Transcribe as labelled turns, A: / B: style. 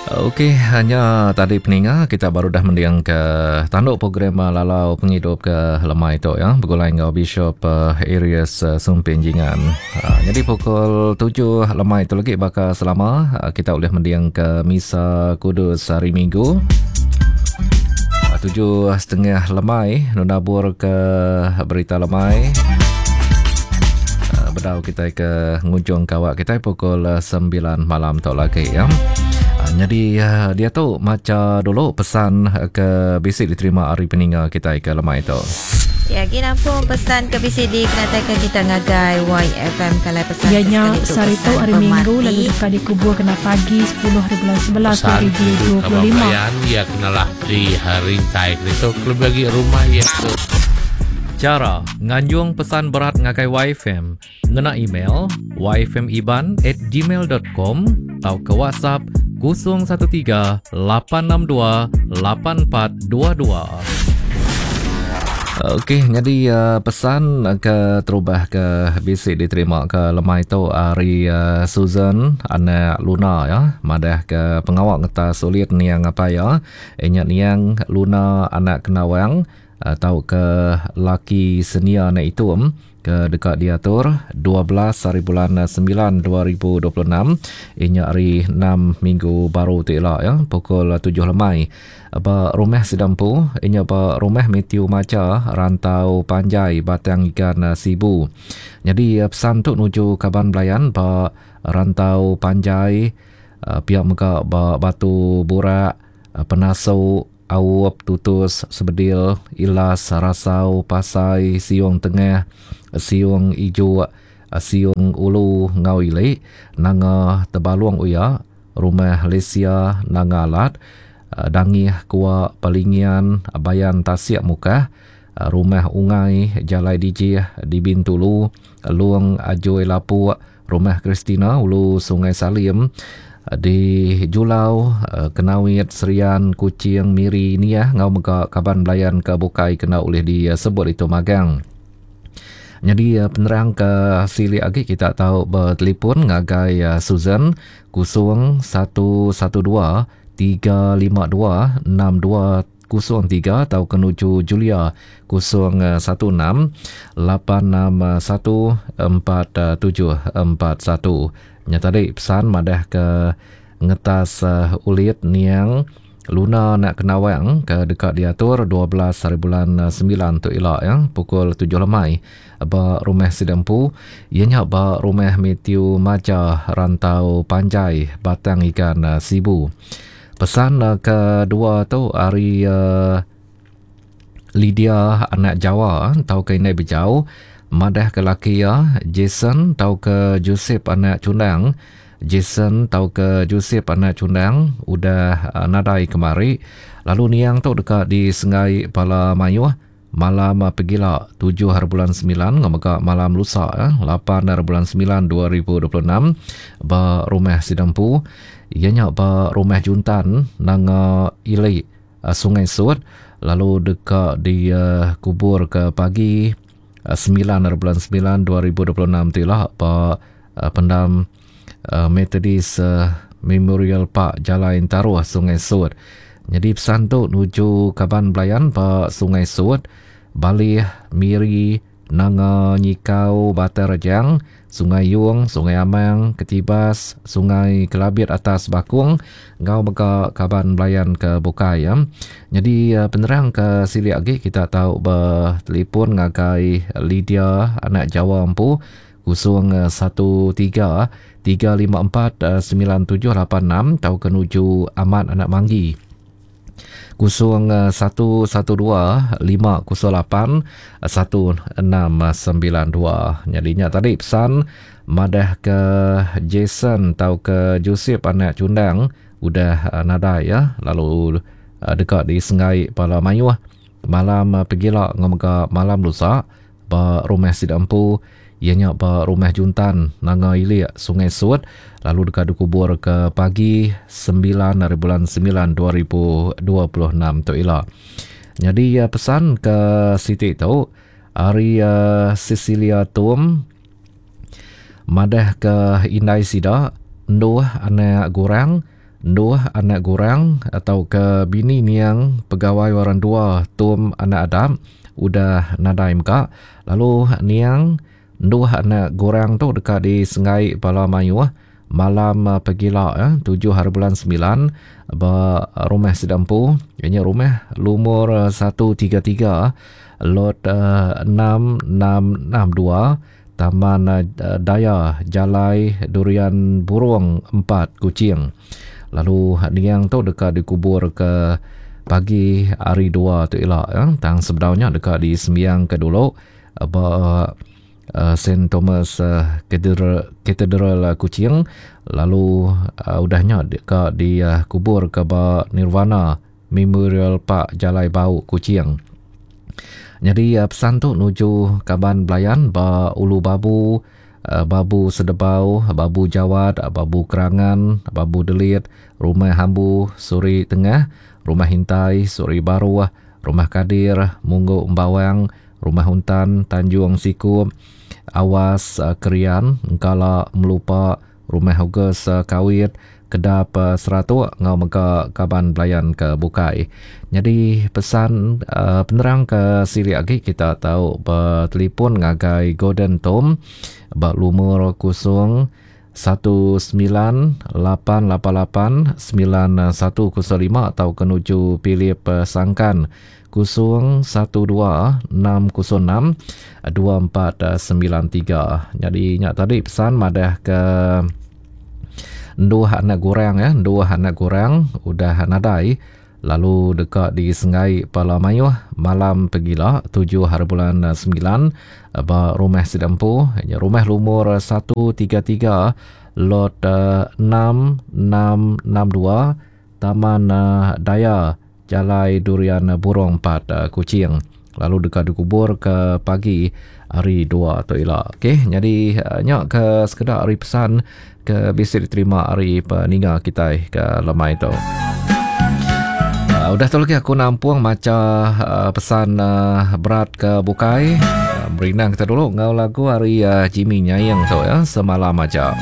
A: Okey, hanya tadi peninga kita baru dah mending ke tanduk program eh, lalau pengidup ke lemai tu ya begulai enggau Bishop uh, Arius uh, Sumpin Jingan. Uh, jadi pukul 7 lemai tu lagi baka selama uh, kita boleh mending ke Misa Kudus hari Minggu. 7.30 lemai nunabur ke berita lemai. Bedau kita ke ngujung kawak kita pukul 9 malam tu lagi ya. Jadi dia tu maca dulu pesan ke bisi diterima hari peninga kita ke lemai tu.
B: Ya, lagi nampung pesan ke bisi dikenatai kita ngagai YFM kalau pesan
C: Iya nya sehari tu hari Minggu lalu deka dikubur kena pagi 10 hari bulan 11
D: Pesan tuju kaban
C: 2025.
D: belayan iya kenalah di rintai keditu kelebih agi rumah iya tu.
A: Chara nganjung pesan berat ngagai YFM ngena email yfmiban@gmail.com tauka WhatsApp 013 862 8422. Okey, jadi uh, pesan ke terubah ke bisi diterima ke lemai tu ari uh, Susan anak Luna ya, madah ke pengawa ngetas ulit niang apai ya, inya niang Luna anak Kenawang uh, tau ke laki senia anak Itum ke deka diatur 12 hari bulan 9 2026 inya hari 6 minggu baru ti ila ya pukul 7 lemai ba rumah Sidampu inya ba rumah Matthew Maja Rantau Panjai Batang Igan Sibu. Jadi pesan tu nuju kaban belayan ba Rantau Panjai pia mega ba Batu Burak Penasu Aup, Tutus, Sebedil, Ilas, Rasau, Pasai, Siung Tengah, Siung Ijuk, Siung Ulu enggau Ili, Nanga Tebalung Uya, Rumah Lesia Nanga Alat, Dangih Kua Pelingian Bayan Tasik Mukah, Rumah Ungai Jalai Dijih di Bintulu, Long Ajoi Lapuk, Rumah Christina Ulu Sungai Salim di Julau, Kenawit, Serian, Kuching, Miri, Niah enggau mega kaban belayan ke bukai kena ulih disebut itu magang. Nyadi penerang ke silik agi kita tau betelefon ngagai Susan 0112 352 62 03 tauka nuju Julia 016 861 4741. Nya tadi pesan madah ke ngetas ulit niang Luna anak Kenawang ke deka diatur 12 hari bulan 9 tu ila ya pukul 7 lemai ba rumah sida empu iya nya ba rumah Matthew Maja Rantau Panjai Batang Igan Sibu. Pesan kedua tu ari Lydia anak Jawa tauka indai Bejau madah ke laki iya Jason tauka Joseph anak Chundang. Jason tauka Joseph anak Chundang udah nadai kemari lalu niang tu deka disenggai bala mayuh Malam pegila tujuh hari bulan semilan enggau mega malam lusa lapan hari bulan semilan 2026 ba rumah sida empu iya nya ba Rumah Juntan Nanga Ili Sungai Sut lalu deka dikubur ke pagi semilan hari bulan semilan 2026 ti ila ba pendam Methodist Memorial Park Jalai Entaruh Sungai Sut. Nyadi pesan tu nuju kaban belayan ba Sungai Sut, Balih, Miri, Nanga Nyikau, Batang Rejang, Sungai Yong, Sungai Amang, Ketibas, Sungai Kelabit Atas Bakong enggau mega kaban belayan ke bukai. Nyadi penerang ke silik agi kita tau betelefon ngagai Lydia anak Jawa empu 013 354 9786 tauka nuju Amat anak Manggi 0112 508 1692. Nyadi nya tadi pesan madah ke Jason tauka Joseph anak Chundang udah nadai ya lalu deka disenggai bala mayuh malam pegila enggau mega malam lusa. Ba rumah sida empu, iya nya ba Rumah Juntan, Nanga Ilik, Sungai Sut, lalu deka dikubur ke pagi semilan ari bulan semilan 2026 tu ila. Nyadi pesan ke siti tu ari Cecilia Tum madah ke indai sida enduh anak gurang. Enduh anak Gurang tauka bini niang pegawai orang dua Tum anak Adap udah nadai mega lalu niang Enduh anak Gurang tu deka disenggai bala mayuh malam pegila tujuh hari bulan semilan ba rumah sida empu iya nya rumah lumur 133 lot 6662 Taman Daya Jalai Durian Burung 4 Kuching. Lalu niang tu deka dikubur ke pagi hari dua tu ila tang sebedau nya deka disembiangka dulu ba Saint Thomas Cathedral, Cathedral Kuching lalu udah nya deka dikubur ke ba Nirvana Memorial Park Jalai Bau Kuching. Nyadi pesan tu nuju kaban belayan ba Ulu Babu, Babu Sedebau, Babu Jawat, Babu Kerangan, Babu Delit, Rumah Hambu, Suri Tengah, Rumah Hintai, Suri Baruh, Rumah Kadir, Munggu Embawang, Rumah Untan, Tanjung Sikup, Awas Kerian, Engkala Melupa, Rumah August Kawit, Kedap Seratuk enggau mega kaban belayan ke bukai. Nyadi pesan penerang ke silik agi kita tau betelefon ngagai Gordon Tom ba lumur 0 19 888 9105 tauka nuju Philip Sangkan 0 12 606 2493. Nyadi nya tadi pesan madah ke enduh anak gurang ya, enduh anak gurang udah nadai lalu deka disenggai pala mayuh malam pegila 7 hari bulan 9 ba rumah sida empu nya rumah lumur 133 lot 6662 Taman Daya Jalai Durian Burung 4 Kuching lalu deka dikubur ke pagi hari 2 tu ila. Okey, nyadi nya ke sekeda ari pesan ke bisi diterima ari peninga kitai ke lemai tu. Uh, udah tu lagi aku nampung macha uh, pesan uh, berat ke bukai. Uh, merindang kita dulu ngau lagu ari uh, Jimmy Nyaing tu ya semalam aja.